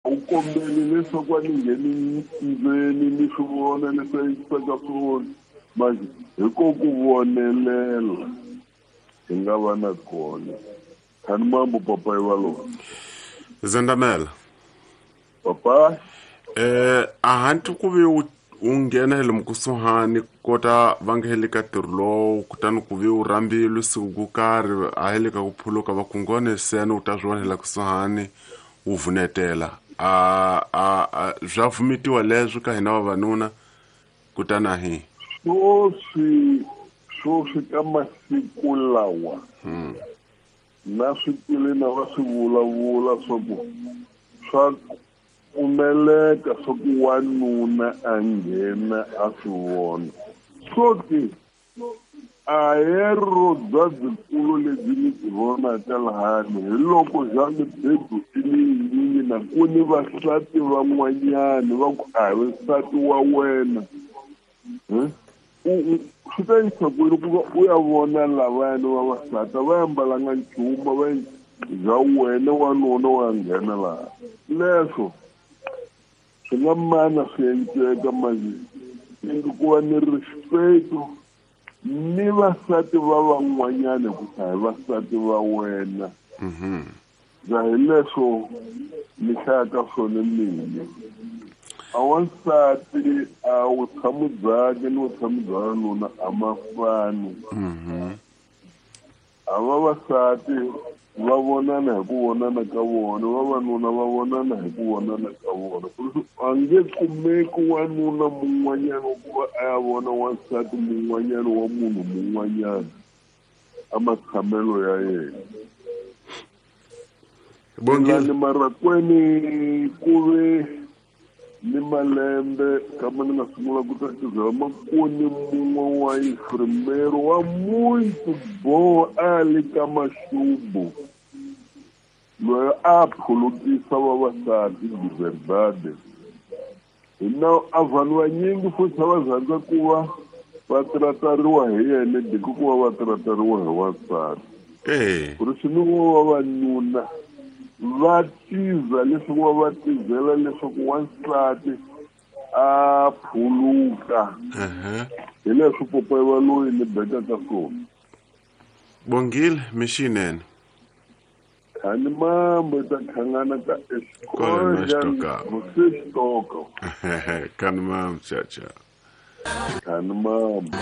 U kombeli leswaku a ni ngheni ndzeni ni swi vona leswi a yisaka swona manje hi ko ku vonelela hi nga va na kona. Khani mambo papa yi va lona. Zendamela. Papa. Ahanti ku ve u nghena hi lomu kusuhani kota va nge heli ka ntirho lowu kutani ku ve u rhambilwe siku ku karhi a heli ka ku phuluka va ku ngone seni u ta swi vona hi la kusuhani wu vunetela a swa vumitiwa leswi ka hina vavanuna kutani a hi swoswi ka masiku lawa na swi twile na va swi vulavula swa ku swa pfumeleka swa ku wanuna a nghena a swi vona so ke a hi ro byabyikulu lebyi ni byi vonaka lahani hi loko bya mibedo i yinyingi na ku ni vasati van'wanyani va ku a hi nsati wa wena swi ta yisa kwini ku va u ya vona lavayani vavasati a va ambalanga nchumu va bya wena wanuna wa nghena laha leswo swi nga mana swi enceka manje ingi ku va ni respect ni vasati va van'wanyana ku hi vasati va wena bya hi leswo ni hlayaka swona mina a wansati a vutshamo byakhe ni vutshamo bya wanuna a ma fani a vavasati va vonana hi ku vonana ka vona vavanuna va vonana hi ku vonana ka vona a nge kumeki wanuna mun'wanyana wa ku va a ya vona wansati mun'wanyana wa munhu mun'wanyana a matshamelo ya yena. Bongile marakweni ku ve ni malembe kama ni nga sungula ku ta xizela makoni mun'we wa infirmero wa muito bom a le ka maxubu loyi a phulukisa vavasati de verdade hina a vanhu vanyingi futhi a va rhandza ku va va tratariwa hi yena diko ku va va tratariwa hi wansati ku ri swi ni vavanuna va tiza leswaku va va tizela leswaku wansati a phuluka hi leswi popa va loyi ni bekaka swona. Bongile mixinene. Khani mambo ta khangana ka escola você toca. Khani mambo cha cha. Khani mambo.